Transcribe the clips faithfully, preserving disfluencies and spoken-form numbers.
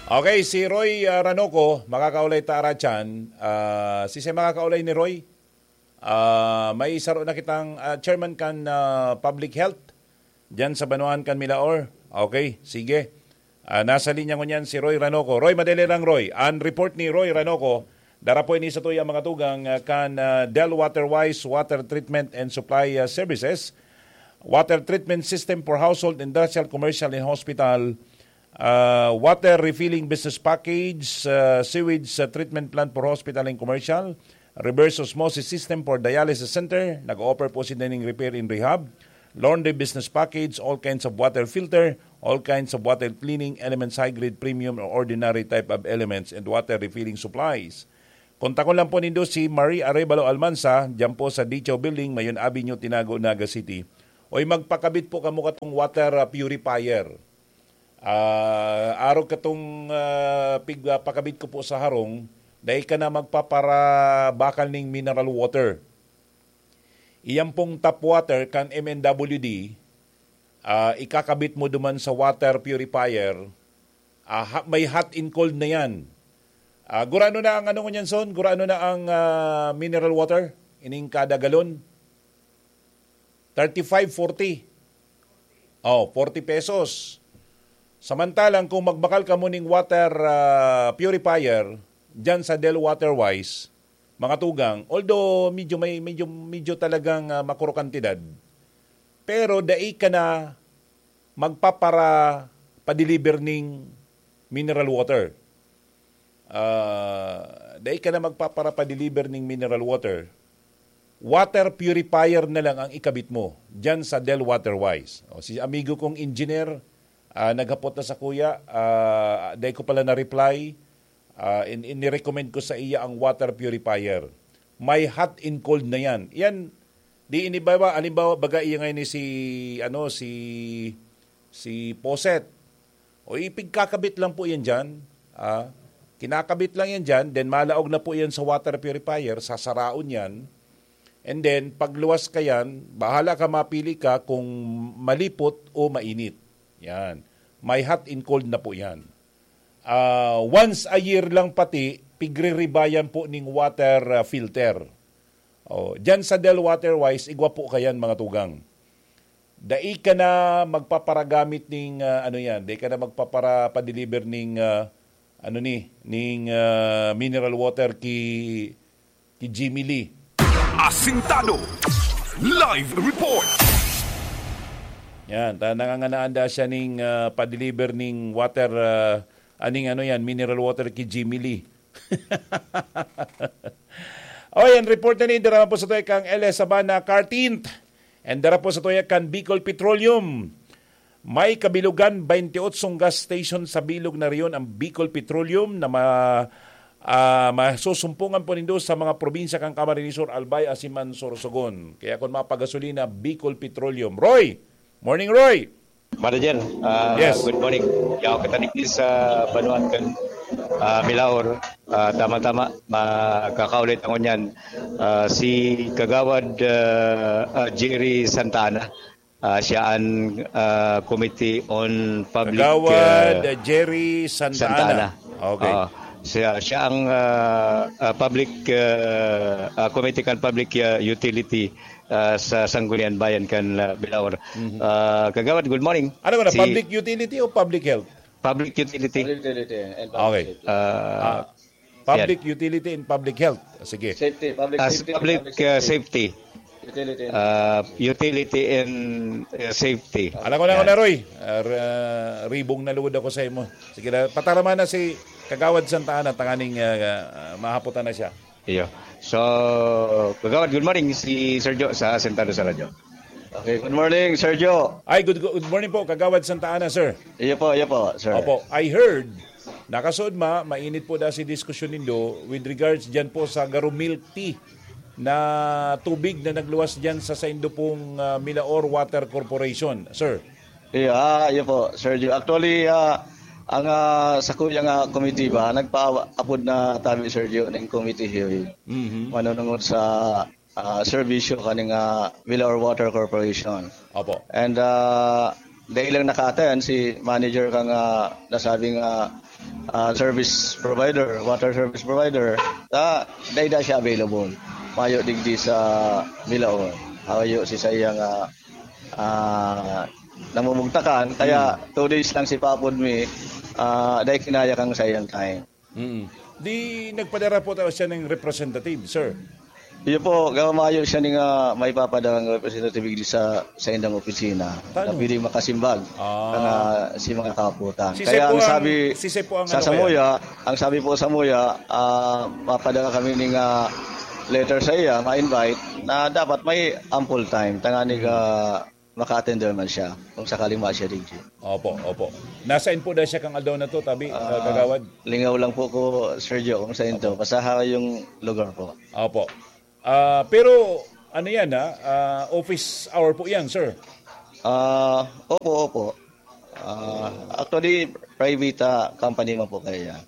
Okay, si Roy, ah, Ranoco, makakaulay ta aratyan. Ah, si siya makakaulay ni Roy? Ah, may saro na kitang, ah, chairman kan, ah, public health diyan sa Banuan kan Milaor. Okay, sige. Ah, nasa linya ngunyan si Roy Ranoco. Roy, madali lang, Roy. Ang report ni Roy Ranoco, dara po ini sa tuya, mga tugang, ah, kan, ah, Del Water Wise Water Treatment and Supply, ah, Services. Water treatment system for household, industrial, commercial, and hospital. Ah, water refilling business package, ah, sewage, ah, treatment plant for hospital and commercial, reverse osmosis system for dialysis center, nag-o-offer po si Dening Repair and Rehab, laundry business package, all kinds of water filter, all kinds of water cleaning elements, high grade, premium or ordinary type of elements, and water refilling supplies. Kontakon lang po nindo si Marie Arevalo Almanza, diyan po sa Dicho Building, Mayon Avenue, Tinago, Naga City. Oy, magpakabit po kamo katong water, ah, purifier. Ah, arog katong, ah, pig-, ah, pakabit ko po sa harong, dai ka na magpaparabakal ning mineral water. Iyan pong tap water kan M N W D, ah, ikakabit mo duman sa water purifier, ah, ha-, may hot and cold na yan. Ah, gurano na ang ano ngunyan, Son? Gurano na ang, ah, mineral water? Ining kada galon? Thirty-five, forty. Oh, forty pesos. Samantalang kung magbakal kamo ning water, ah, purifier, dyan sa Del Water Wise, mga tugang, although medyo may, medyo, medyo talagang, ah, makuro kantidad, pero dai ka na magpapara-, pa-deliver ning mineral water. Ah, dai ka na magpapara-, pa-deliver ning mineral water. Water purifier na lang ang ikabit mo dyan sa Del Water Wise. O, si amigo kong engineer, ah, naghapot na sa kuya, ah, dai ko pala na-reply. Ah, in-, inirecommend ko sa iya ang water purifier. May hot and cold na yan. Yan, di inibawa, halimbawa, baga iya ngayon ni si, ano, si, si Poset. O ipigkakabit lang po yan dyan. Ah, kinakabit lang yan dyan, then malaog na po yan sa water purifier, sasaraon yan. And then, pagluwas ka yan, bahala ka, mapili ka kung malipot o mainit. Yan. May hot and cold na po yan. Ah, once a year lang pati, pigre-rebayan po ning water, ah, filter. Oh, dyan sa Del Water Wise, igwa po kayan, mga tugang. Dai ka na magpaparagamit ning, ah, ano yan, dai ka na magpapara-, pa-deliver ning, ah, ano ni, ning, ah, mineral water ki, ki Jimmy Lee. Asintado. Live report. Yan, ta-, nanganganaan da siya ning, ah, pa-deliver ning water, ah, aning ano yan, mineral water ki Jimmy Lee. O, yan, report na ni, dara po sa tuya kang L S Sabana Kartint. And dara po sa tuya kan Bicol Petroleum. May kabilogan, twenty-eight gas station sa bilog na rehiyon ang Bicol Petroleum na ma-, ah, masusumpungan po nindo sa mga probinsya kan Camarines Sur, Albay, Asiman, Sorsogon. Kaya kung mapagasolina, Bicol Petroleum. Roy! Morning, Roy! Manager, ah, Yes. Good morning. Yaw kita digdi sa Banuan kan, ah, Milaor. Ah, tama-tama, makakaulit ako niyan. Ah, si Kagawad, ah, ah, Jerry Santa Ana. Ah, siya ang, ah, Committee on Public, Kagawad ah, Jerry Santa Santa Ana. Ana. Okay. Oo. Siya, siya ang, ah, ah, public, ah, ah, committee kan public, ah, utility, ah, sa Sangguniang Bayan kan, ah, Milaor. Mhm. Ah, Kagawad, good morning. Ano ka na, Si public utility o public health? Public utility. Public utility and public Okay. safety. Ah, Ah, public yan. Utility and public health. Sige. Safety, public Ah, safety, public, public ah, safety. Safety. Utility and Ah, utility and, ah, safety. Alam ko na, Yan. Alam ko na, Roy. Ah, r-, ah, ribong na luod ako sa imo. Sige na, patarama na si Kagawad Santa Ana, tanganing, ah, ah, mahaputan na siya. Iyo. So, Kagawad, good morning, si Sergio sa Sentado sa Radyo. Okay, good morning, Sergio. Ay, good, good morning po, Kagawad Santa Ana, sir. Iyo po, iyo po, sir. Opo, I heard, nakasuod ma, mainit po da si diskusyon nindo with regards dyan po sa Garo Milk Tea na tubig na nagluwas dyan sa saindo pong, ah, Milaor Water Corporation, sir. Iyo, ah, iyo po, Sergio. Actually, ah, ang, ah, sa kuya nga komitiba, nagpaapod na tabi, Sergio, ng committee hearing. Mhm. Manunungod sa, ah, serbisyo kaning, ah, Milaor Water Corporation. Opo. And, ah, dahil lang naka-attend si manager kang, ah, nasabing, ah, ah, service provider, water service provider, ta dai da siya available. Mayo digdi sa Milaon. Hayo si saiyang, ah, ah, namumugtakan, kaya two days lang si papod mi, ah, dai kinaya kang saiyang time. Mm. Di nagpadara po tayo siya ng representative, sir? Iyo po, gama mayo siya ni nga may papadarang representative digdi sa, sa indang opisina Tano? na pwedeng makasimbag Ah. ang, ah, si mga kaputan. Si Kaya Sepo ang ang, sabi si Sepo ang sa ano kaya? Samuya, ang sabi po sa Samuya, ah, mapadara kami ni nga letter sa iya, ma-invite, na dapat may ample time, tanganing, Hmm. ah, maka-attend man siya kung sakaling ma siya digdi. Opo, opo. Nasain po na siya kang aldaw na to, tabi, ah, Ah, kagawad? Lingaw lang po ko, Sergio, kung saan to. Opo. Basta ha yung lugar po. Opo. Ah, pero, ano yan, ha? Ah, office hour po yan, sir? Ah, opo, opo. Ah, actually, private, ah, company man po kaya yan.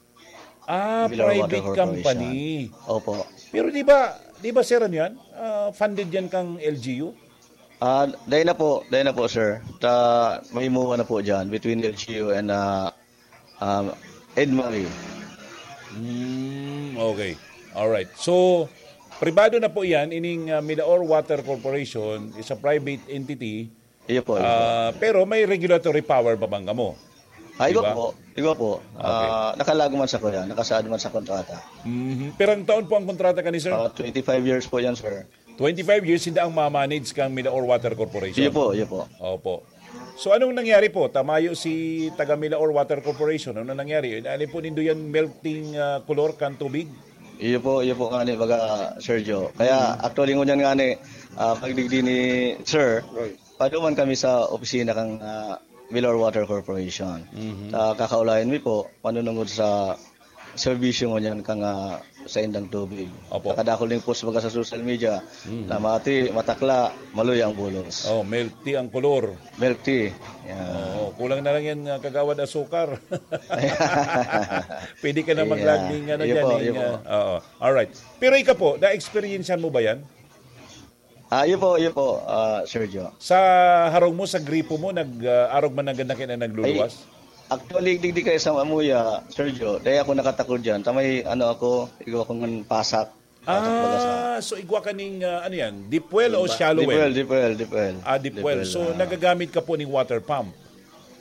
Ah, Below Water private Corporation. Company. Opo. Pero di ba, di ba, sir, ano yan? Ah, funded yan kang L G U? Ah, dahil na po, dahil na po, sir. Ta, may muwa na po dyan between L G U and, ah, um, Edmary. Mm, okay. Alright. So, pribado na po yan, ining, ah, Milaor Water Corporation is a private entity. Iyo po, iyo po. Ah, pero may regulatory power pa bang kamo? Ah, iba Diba? po, iba po. Okay. Ah, nakalago man sa kuya, nakasaad man sa kontrata. Mhm. Pirang taon po ang kontrata kani, sir? Ah, twenty-five years po yan, sir. Twenty-five years, hindi ang ma-manage kang Milaor Water Corporation? Iyo po, iyo po. Opo. So, anong nangyari po? Tamayo si taga Milaor Water Corporation. Ano nangyari? Ano po nindo yan melting, ah, color kan tubig? Iyo po, iyo po nga ni, baga, Sergio. Kaya, Mm. actually, ngunyan nga ni, ah, pagdigdi ni Sir, Right. paduman kami sa opisina kang, ah, Milaor Water Corporation. Mhm. Ah, kakaulayan mi po, manunungod sa serbisyo ngunyan kang, ah, saindang tubig. Opo. Nakadakol ning post baga sa social media, Mhm. na mati, matakla, maluya ang bulos. Oh, milk tea ang kolor. Milk tea. Yan. Oo, kulang na lang yan, ah, kagawad asukar. Pwede ka na Yeah. mag-landing, ano Iyo dyan, po, eh, iyo po. ah, oo. Alright. Pero ikaw po, na-experiencehan mo ba yan? Ah, iyo po, iyo po, ah, Sergio. Sa harong mo, sa gripo mo, nag, ah, arog man na ganda kayo na nagluluwas? Ay, actually, digdi kayo sa Mamuya, Sergio. Dahil ako nakatakod dyan. Tamay, ano ako, igwa akong pasak. Pasak baga sa Ah, so igwa ka ning, ah, ano yan? Deep well o Diba? shallow Deep well? well, deep well, deep well. Ah, deep Deep well. well, So, ah. nagagamit ka po ning water pump?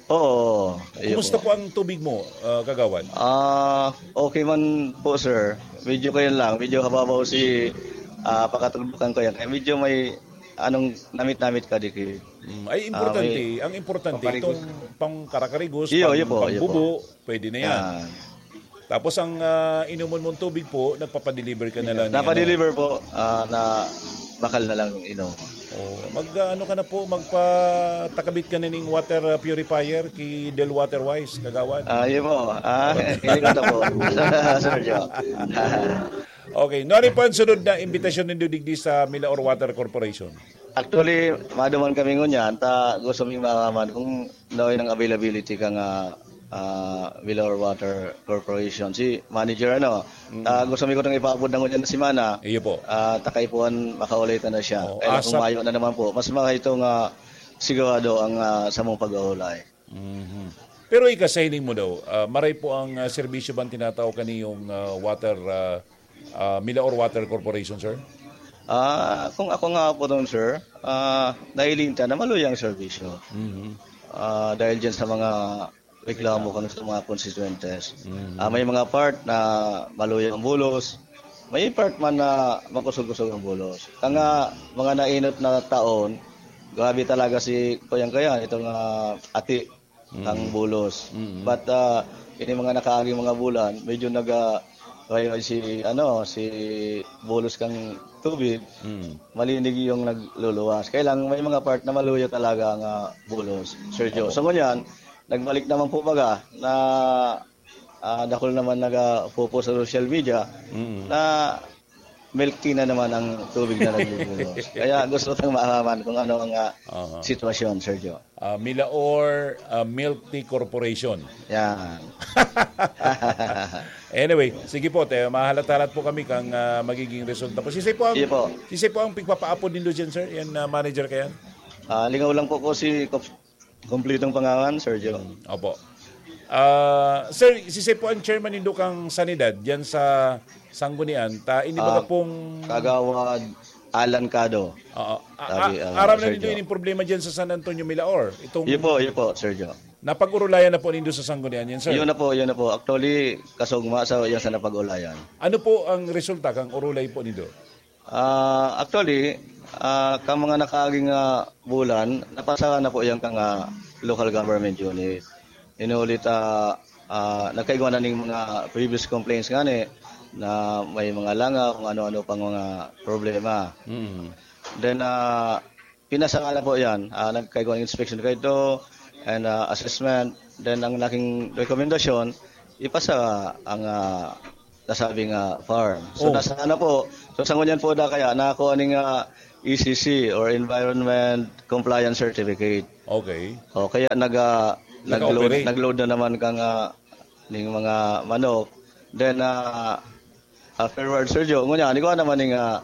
Oo, iyo Kumusta po. po ang tubig mo, ah, kagawad? Ah, okay man po, sir. Medyo kayo lang, medyo hababaw si, ah, pakatugdukan ko yan. Kaya medyo may anong namit-namit ka, Diki. Mm, ay, Ah, importante. may Ang importante, pamparigus. itong pangkarakarigos, Iyo, pang-, iyo po, iyo po. pangbubo, pwede na yan. Yan. Tapos ang, ah, inuman mong tubig po, nagpapadeliver ka na lang ni ano. Napadeliver po, ah, na bakal na lang inom. Oh, mag, ah, ano ka na po, magpatakabit ka na ning water, ah, purifier ki Del Water Wise, kagawad. Ah, yun po. Ah, hindi ko na po. Sir Joe. Okay. No, ano po ang sunod na imbitasyon nindo digdi sa Milaor Water Corporation? Actually, maduman kami ngunyan, ta gusto mi malaman kung ano yung availability ka nga, ah, Milaor Water Corporation. Si manager, ano, Mm. ah, gusto mi ko nang ipaabot na ngunyan na semana. Iyo po. Ah, takay po an makaulay ta na siya. Oh, Kaya kung asap- mayo na naman po, mas mga ito nga sigurado ang, ah, samong pag-aulay. Mhm. Pero ika, sa hiling mo daw, ah, maray po ang, ah, serbisyo bang tinatao kaniyong, ah, water, ah, ah, Milaor Water Corporation, sir? Ah, kung ako nga po doon, sir, ah, nahiling ta na maluya ang serbisyo. Mhm. Ah, dahil dyan sa mga reklamo kami sa mga constituentes. Mhm. Ah, may mga part na maluya ang bulos, may part man na makusog-kusog ang bulos. Kaya nga, mga nainot na taon, grabe talaga si Kuyang Kayan, itong, ah, ati Mm. kang bulos. Mm. But, ah, ini mga nakaaging mga bulan, medyo nag, ah, rayway si, ano, si bulos kang tubig, Mm. malinig yung nagluluwas. Kaya lang, may mga part na maluya talaga ang, ah, bulos, Sir Joe. Opo. So, ngunyan, nagbalik naman po baga na, ah, dakul naman nag, ah, popost sa social media Mm. na milk tea na naman ang tubig na nagbubulos. Kaya gusto tang malaman kung ano ang, ah, Aha. sitwasyon, Sir Joe. Ah, Milaor, ah, Milk Tea Corporation. Yan. Anyway, sige po, te, mahalat-halat po kami kang, ah, magiging resulta po. Sisay po ang, Sige po. sisay po ang pigpapaapod nindo dyan, sir? Yan, ah, manager ka yan? Ah, lingaw lang po ko si Kop-, kumplitong pangalan, Sir Joe. Opo. Ah, sir, siisay po ang chairman nindo kang Sanidad diyan sa Sanggunian? Ta, ini baga Ah, pong Kagawad Alan Cado. Oo. A-, Sabi, a-, ah, aram na Sir nindo Jo. ining problema diyan sa San Antonio, Milaor. Itong Yun po, yun po, Sir Jo. Napag-urulayan na po nindo sa Sanggunian yan, sir? Yun na po, yun na po. Actually, kasugma sa, yan sa napag-ulayan. Ano po ang resulta kang urulay po nindo? Ah, actually, ah, ka mga nakaaging, ah, bulan, napasa na po yan kang, ah, local government unit. Inulit, ah, ah, nagkaigwa na ning mga previous complaints nga ni na may mga langaw, kung ano-ano pang mga problema. Mm. Then, ah, pinasa nga na po yan. Ah, nagkaigwa ng inspection kaito and, ah, assessment. Then, ang naging rekomendasyon, ipasa ang, ah, nasabing, ah, farm. So, Oh. nasa na po. So, sa ngunyan po na kaya, nakakuha ning, ah, E C C or Environment Compliance Certificate. Okay. O, kaya nag, ah, nag-load, Naka-operate. nag-load na naman kang, ah, ning mga manok. Then, ah, afterwards, Sir Joe, ngunyan, igwa naman ning, ah,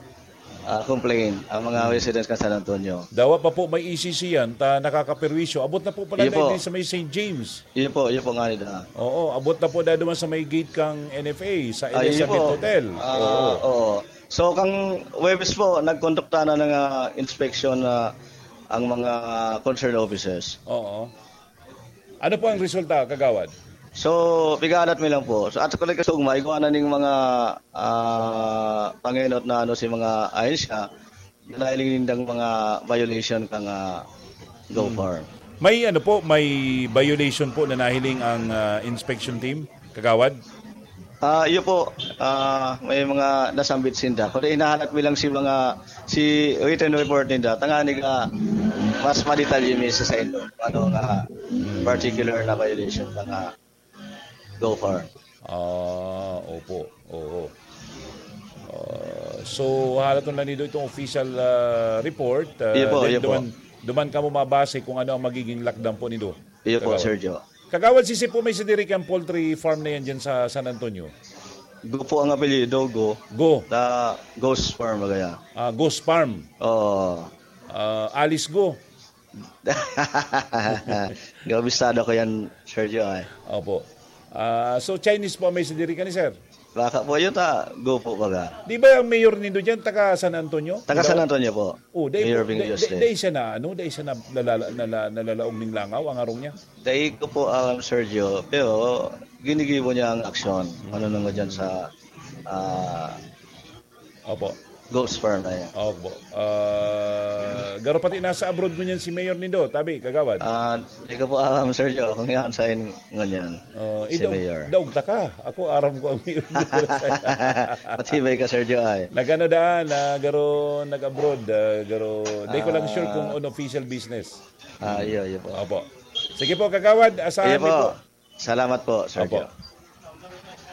ah, complaint ang mga Hmm. residents kan San Antonio. Dawa pa po may E C C yan, ta nakakaperwisyo. Abot na po pala Iyo na po. din sa may Saint James. Iyo po, iyo po nga nila. Oo, abot na po na duman sa may gate kang N F A, sa Ah, iyo Elizabeth po. Hotel. Ah, Oo. oo. So, kang Huwebes po, nagkondukta na ng, ah, inspection na ang mga concerned officers. Oo. Ano po ang resulta, Kagawad? So, pigalat mi lang po. So, at sa kasugma, igwa na ning mga, ah, pangenot na ano si mga ahensya, na nahiling nindang mga violation kang, ah, Go Hmm. Farm. May ano po, may violation po na nahiling ang, ah, inspection team, Kagawad? Ah, iyo po. Ah, may mga nasambit sinda. Kundi hinahanap mi lang si mga, si written report ninda. Tanganing, ah, mas madetalye mi sa saindo. Ano nga particular na violation na nga Go Farm. Ah, opo. Oo. Ah, so, halaton lang nindo itong official, ah, report. Ah, Iyo po, then iyo po. duman, duman kamo mabase kung ano ang magiging lakdang po nindo. Iyo po, Kagawad. Sir Joe. Kagawad, siisay po may sadiri kang poultry farm na yan dyan sa San Antonio? Go po ang apelyido, Go. Go. Na Ghost Farm, bagaya. Ah, Ghost Farm. Oo. Ah, Alice Go. Kabisado ko yan, Sir Joe, eh. Opo. Ah, so, Chinese po ang may sadiri kani, sir? Baka po yun, ta, Go po, baga. Di ba ang mayor nindo dyan, taga San Antonio? Taga San Antonio po. Oh, dai Mayor po, Bingo dai, Yosle. dai, dai siya na, ano, dai siya na, nalala-, nala-, nalalaog ning langaw, ang arong niya? Dai ko po alam, Sir Joe, pero ginigibo niya ang aksyon. Ano naman dyan sa, ah, Opo. Ghost Farm na yan. Opo. Ah, garo pati nasa abroad ngunyan si Mayor nindo, tabi, Kagawad? Ah, di ko po alam, Sir Joe, kung yan sa in-, ngunyan, Oh, si idaog, Mayor. daog ta ka. Ako, aram ko ang Mayor nindo. Matibay ka, Sir Joe, ay. Nagano daan, ah, garo nag-abroad, ah, garo, di ko lang sure kung Ah. on official business. Ah, iyo, iyo po. Opo. Sige po, Kagawad, asahan Iyo mi po. po. Salamat po, Sir Opo. Joe.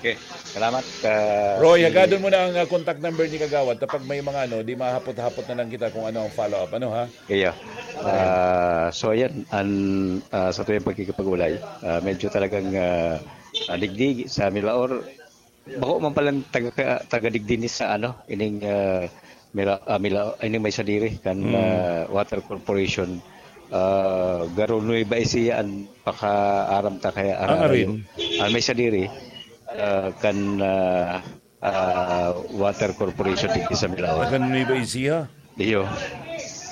Okay, salamat, ah, Roy, si hagadon mo na ang, ah, contact number ni Kagawad. Kapag may mga ano, di mahapot-hapot na lang kita kung ano ang follow-up. Ano, ha? Iyo. Okay. Ah, so, yan, ang, ah, sa tuyang pagkikipag-ulay, ah, medyo talagang, ah, ah, digdi sa Milaor. Bako man palang taga, taga digdi ni sa, ano, ining, ah, Mila-, ah, Mila-, ining may sadiri kan, Mm. ah, Water Corporation. Ah, garo Nueva Ecija an pakaaram ta kaya Ang ararayo. arin? An may sadiri, ah, kan, ah, ah, Water Corporation digdi sa Milaor. Taga Nueva Ecija? Iyo.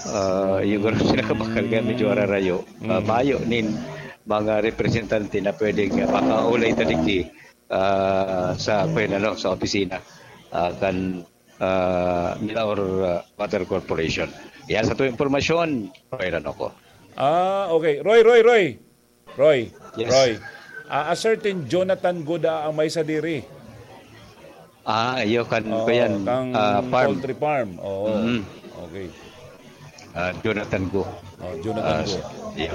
Ah, iyo garo sila kabakal kaya medyo Mm. ararayo. Ah, Mm. mayo nin mga representante na pwedeng, ah, makaulay ta digdi, ah, sa, kwen, ano, sa opisina, ah, kan, ah, Milaor, ah, Water Corporation. Yan sa tuyang impormasyon, Roy Ranoco. Ah, okay. Roy, Roy, Roy. Roy, Yes. Roy. Ah, a certain Jonathan Goda ang may sadiri. Ah, iyo kan, Oo, kuyan, kang ah, farm. poultry farm. Oo. Mm. Okay. Ah, Jonathan Go. Oh, Jonathan Ah, Go. so, iyo.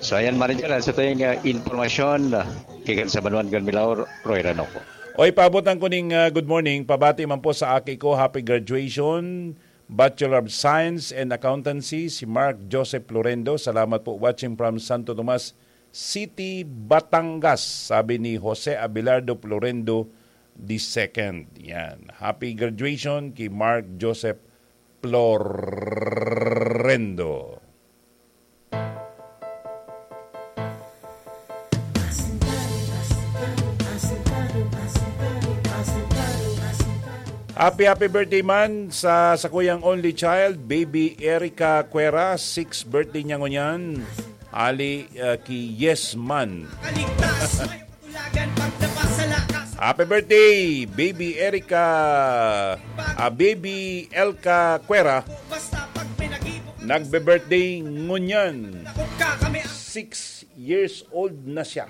So, ayan, Maricar, ah, sa tuyang, ah, impormasyon, ah, gikan sa Banwaan kan Milaor, Roy Ranoco. Oy, paabotan ko ning, ah, good morning. Pabati man po sa aki ko, happy graduation, Bachelor of Science and Accountancy, si Mark Joseph Florendo. Salamat po, watching from Santo Tomas City, Batangas, sabi ni Jose Abelardo Florendo the second. Yan. Happy graduation kay Mark Joseph Florendo. Happy, happy birthday man sa, sa kuyang only child, baby Erica Cuera, six birthday niya ngunyan. Ali, uh, ki Yes Man. Happy birthday, baby Erica, ah, baby Elka Cuera. Nagbe-birthday ngunyan. Six years old na siya.